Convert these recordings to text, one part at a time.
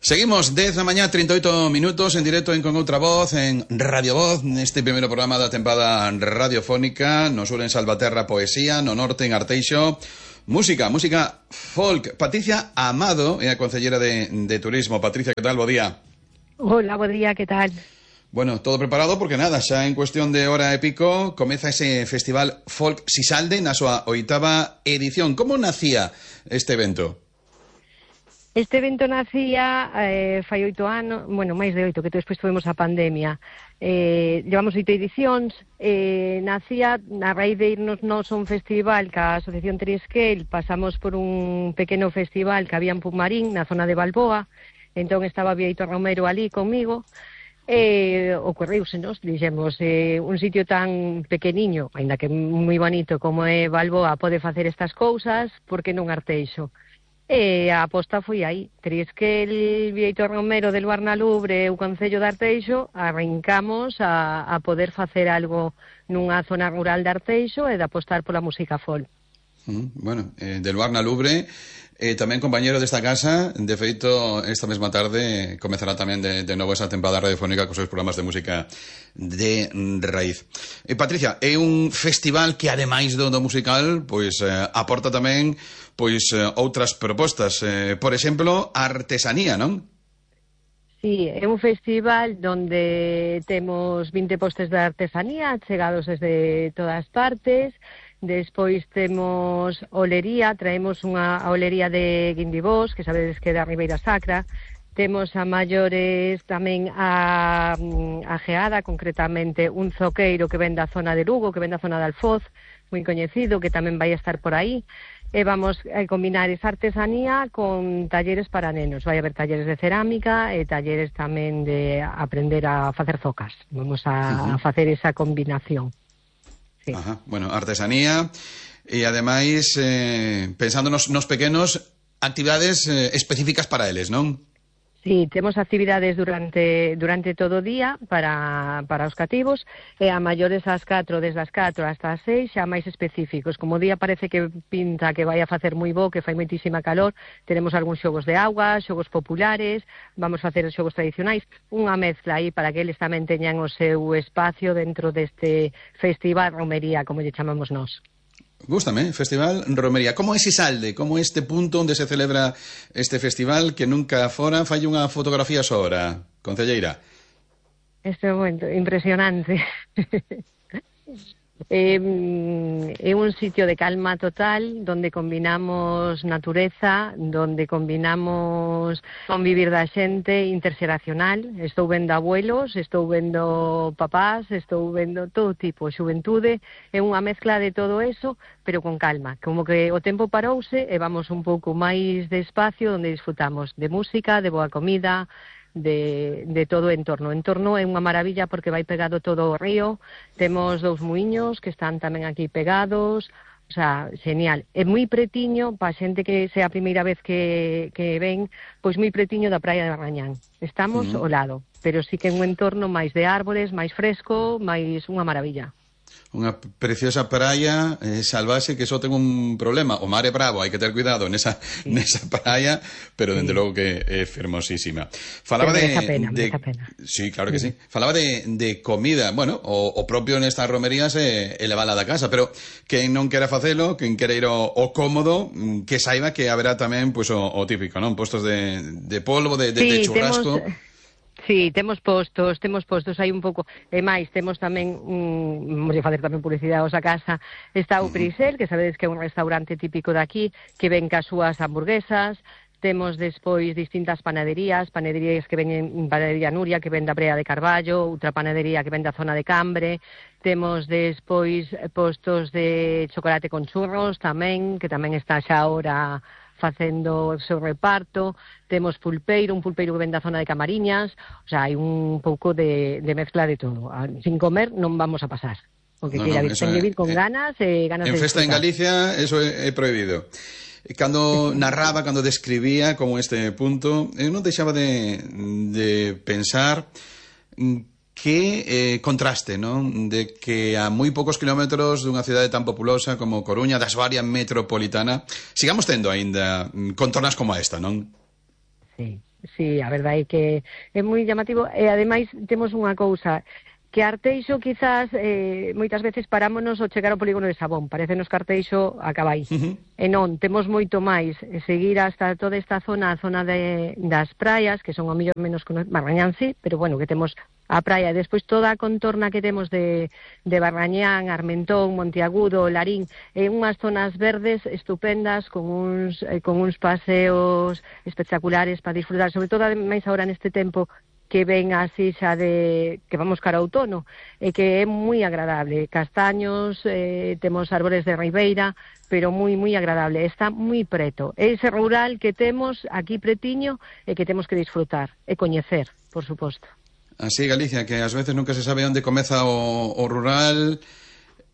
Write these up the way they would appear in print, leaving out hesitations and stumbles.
Seguimos 10 da mañá, 38 minutos en directo en Con Outra Voz, en Radio Voz, neste primeiro programa da tempada radiofónica. No sur en Salvaterra, poesía, no norte en Arteixo, música folk. Patricia Amado é a concellera de Turismo. Patricia, que tal? Bo día. Hola, bo día, que tal? Bueno, todo preparado porque nada, xa en cuestión de hora e pico comeza ese festival Folk Sisalde na súa 8ª edición. Como nacía este evento? Este evento nacía fai 8 anos, bueno, máis de 8, que despois tuvemos a pandemia. Llevamos 8 edicións, nacía a raíz de irnos nós a un festival ca Asociación Trisquel. Pasamos por un pequeno festival que había en Pumarín, na zona de Balboa. Entón estaba Bieito Romero ali comigo. Ocorreúsenos, dixemos, un sitio tan pequeniño, aínda que moi bonito como é Balboa, pode facer estas cousas, por que non Arteixo? A aposta foi aí. Trisquel, Bieito Romero del Barnalubre e o Concello de Arteixo arrancamos a poder facer algo nunha zona rural de Arteixo e de apostar pola música folk. Bueno, del Barnalubre, tamén compañero desta casa. De feito, esta mesma tarde comezará tamén de novo esa tempada radiofónica cos seus programas de música de raíz. Patricia, é un festival que ademais do musical, pois aporta tamén pois outras propostas, por exemplo, artesanía, non? Sí, é un festival donde temos 20 postes de artesanía chegados desde todas partes. Despois temos olería, traemos unha olería de Guindibós, que sabedes que é da Ribeira Sacra. Temos a maiores tamén a Geada, concretamente un zoqueiro que ven da zona de Lugo, que ven da zona de Alfoz, moi coñecido, que tamén vai a estar por aí. E vamos a combinar esa artesanía con talleres para nenos. Vai haber talleres de cerámica e talleres tamén de aprender a facer zocas. Vamos a facer esa combinación. Sí. Ajá. Bueno, artesanía e ademais pensando nos pequenos, actividades específicas para eles, non? Sí, temos actividades durante todo o día para os cativos e a maiores ás 4, desde as 4 hasta as 6, xa máis específicos. Como o día parece que pinta que vai a facer moi bo, que fai moitísima calor, teremos algúns xogos de auga, xogos populares, vamos facer os xogos tradicionais, unha mezcla aí para que eles tamén teñan o seu espacio dentro deste festival romería, como lle chamamos nós. Gústame, Festival Romería. Como é Sisalde? Como é este punto onde se celebra este festival que nunca fora fai unha fotografía só ahora, concelleira? Este momento, impresionante. É un sitio de calma total, donde combinamos natureza, donde combinamos convivir da xente interxeracional. Estou vendo abuelos, estou vendo papás, estou vendo todo tipo, xuventude. É unha mezcla de todo eso, pero con calma. Como que o tempo parouse e vamos un pouco máis despacio, donde disfrutamos de música, de boa comida, de todo o entorno. O entorno é unha maravilla porque vai pegado todo o río. Temos 2 muiños que están tamén aquí pegados. O sea, genial. É moi pretiño, para xente que sea a primeira vez que ven, pois moi pretiño da praia de Barrañán. Estamos ao lado, pero sí que é un entorno máis de árbores, máis fresco, máis unha maravilla. Unha preciosa praia salvaxe que só ten un problema, o mar é bravo, hai que ter cuidado nesa praia, pero dende logo que é fermosísima. Falaba merece a pena. Sí, claro que sí. Falaba de comida, bueno, o propio nestas romerías é levala da casa, pero quen non quera facelo, quen quera ir ao cómodo, que saiba que haberá tamén pois o típico, non? Postos de polvo, de churrasco. Sí, temos postos, hai un pouco, e máis, temos tamén, vamos a facer tamén publicidade a casa, está o Prisel, que sabedes que é un restaurante típico de aquí, que ven cas súas hamburguesas. Temos despois distintas panaderías que ven Panadería Nuria, que ven da Brea de Carballo, outra panadería que ven da zona de Cambre. Temos despois postos de chocolate con churros tamén, que tamén está xa ahora facendo o seu reparto. Temos un pulpeiro que ven da zona de Camariñas. O sea, hai un pouco de mezcla de todo. Sin comer non vamos a pasar. O que queira vir, ten que vir con ganas e ganas de disfrutar. En festa en Galicia, eso é prohibido. Cando narraba, cando describía como este punto, eu non deixaba de pensar que contraste, non? De que a moi poucos kilómetros dunha cidade tan populosa como Coruña, das varias metropolitana, sigamos tendo aínda contornas como esta, non? Sí. sí, a verdade é que é moi llamativo, e ademais temos unha cousa, que Arteixo quizás moitas veces parámonos ao chegar ao polígono de Sabón, parecenos que Arteixo acaba aí. E non, temos moito máis, seguir hasta toda esta zona, a zona das praias, que son ao mellor menos Barrañán sí, pero bueno, que temos a praia, despois toda a contorna que temos de Barrañán, Armentón, Monteagudo, Larín, unhas zonas verdes estupendas con uns paseos espectaculares para disfrutar, sobre todo máis agora neste tempo que ven así xa que vamos cara ao outono, e que é moi agradable, castaños, temos árbores de ribeira, pero moi agradable, está moi preto. É ese rural que temos aquí pretiño e que temos que disfrutar e coñecer, por suposto. Así Galicia, que ás veces nunca se sabe onde comeza o rural,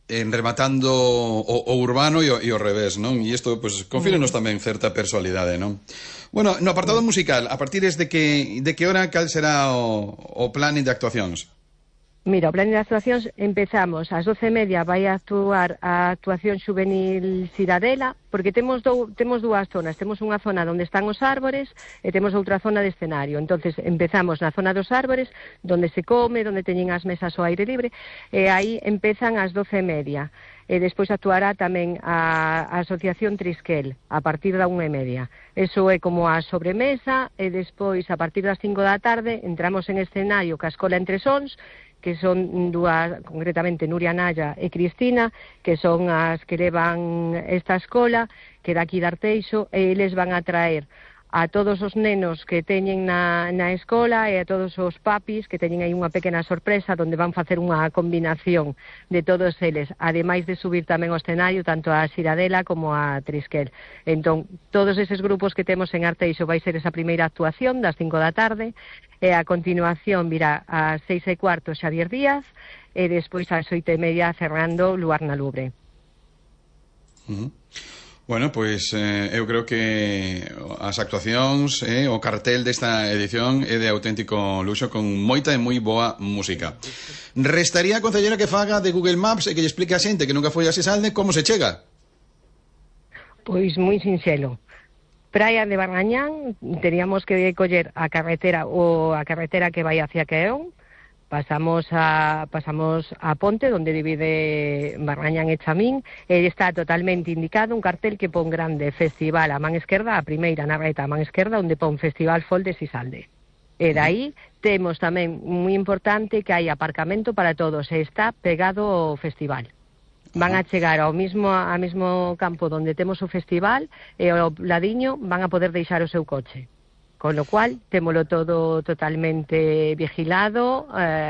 rematando o urbano e o revés, non? E isto, pues, confírenos tamén certa personalidade, non? Bueno, no apartado musical, a partir de que hora, cal será o plan de actuacións? Mira, o plan de actuacións empezamos ás 12:30, vai a actuar a actuación xuvenil Ciradela, porque temos dúas zonas, temos unha zona onde están os árbores e temos outra zona de escenario. Entonces empezamos na zona dos árbores, onde se come, onde teñen as mesas ao aire libre, e aí empezan ás 12:30. E despois actuará tamén a Asociación Trisquel a partir da 1:30. Eso é como a sobremesa, e despois a partir das 5 da tarde entramos en escenario ca Escola Entre Sons, que son dúas, concretamente Nuria Naya e Cristina, que son as que levan esta escola, que daqui de Arteixo, e eles van a traer a todos os nenos que teñen na escola e a todos os papis que teñen aí unha pequena sorpresa onde van facer unha combinación de todos eles, ademais de subir tamén ao escenario tanto a Ciradela como a Trisquel. Entón, todos eses grupos que temos en Arteixo vai ser esa primeira actuación das 5 da tarde, e a continuación virá ás 6:15 Xavier Díaz, e despois ás 8:30 cerrando Luarna Lubre. Bueno, pois eu creo que as actuacións, o cartel desta edición é de auténtico luxo, con moita e moi boa música. Restaría a concelleira que faga de Google Maps e que lle explique a xente que nunca foi a Sisalde como se chega. Pois moi sinxelo. Praia de Barrañán, teríamos que coller a carretera que vai hacia Queón. Pasamos a ponte onde divide Barrañán e Chamín, e está totalmente indicado un cartel que pon grande Festival a man esquerda, a primeira na reta a man esquerda, onde pon Festival Folk de Sisalde. E dai temos tamén moi importante que hai aparcamento para todos, e está pegado ao festival. Van a chegar ao mesmo campo onde temos o festival, e ao ladiño van a poder deixar o seu coche. Con lo cual, témolo todo totalmente vigilado,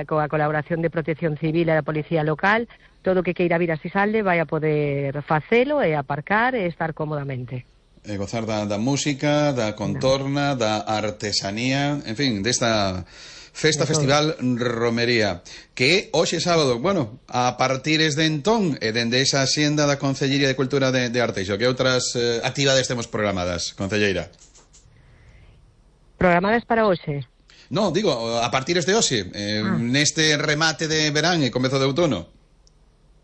coa colaboración de Protección Civil e da Policía Local. Todo o que queira vir a Sisalde vai a poder facelo e aparcar e estar cómodamente. E gozar da música, da contorna, da artesanía, en fin, desta festival Romería, que hoxe sábado, bueno, a partires de entón e dende esa xenda da Concellería de Cultura de Arteixo, que outras actividades temos programadas, concelleira? Programadas para hoxe? No, digo, a partires de hoxe, neste remate de verán e comezo de outono.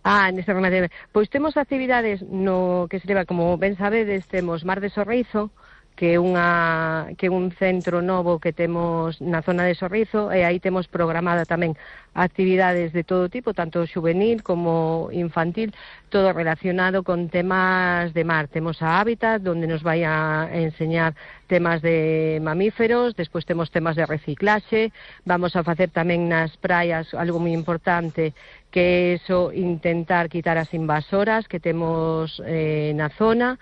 Neste remate de verán. Pois temos actividades no que se leva, como ben sabedes, temos Mar de Sorrizo, que é un centro novo que temos na zona de Sorrizo, e aí temos programada tamén actividades de todo tipo, tanto juvenil como infantil, todo relacionado con temas de mar. Temos a Hábitat, onde nos vai a enseñar temas de mamíferos, despois temos temas de reciclaxe, vamos a facer tamén nas praias algo moi importante, que é eso, intentar quitar as invasoras que temos na zona.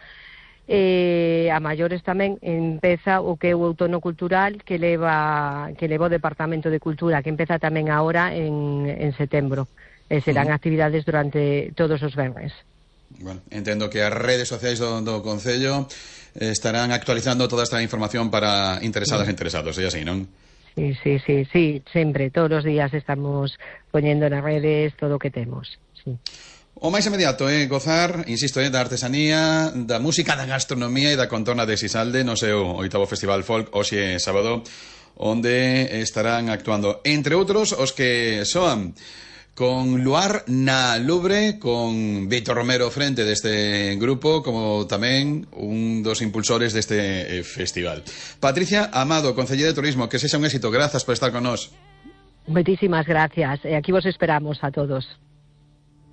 A maiores tamén empeza o que é o outono cultural que leva o Departamento de Cultura, que empeza tamén agora en setembro, e serán actividades durante todos os venres. Bueno, entendo que as redes sociais do Concello estarán actualizando toda esta información para interesadas e interesados, é así, non? Sí, sempre, todos os días estamos poñendo nas redes todo o que temos, sí. O máis inmediato é gozar, insisto, da artesanía, da música, da gastronomía e da contorna de Sisalde no seu 8º Festival Folk, hoxe sábado, onde estarán actuando, entre outros, os que soan con Luar na Lubre, con Víctor Romero frente deste grupo, como tamén un dos impulsores deste festival. Patricia Amado, concelleira de Turismo, que sexa un éxito. Grazas por estar con nós. Muchísimas gracias. Aquí vos esperamos a todos.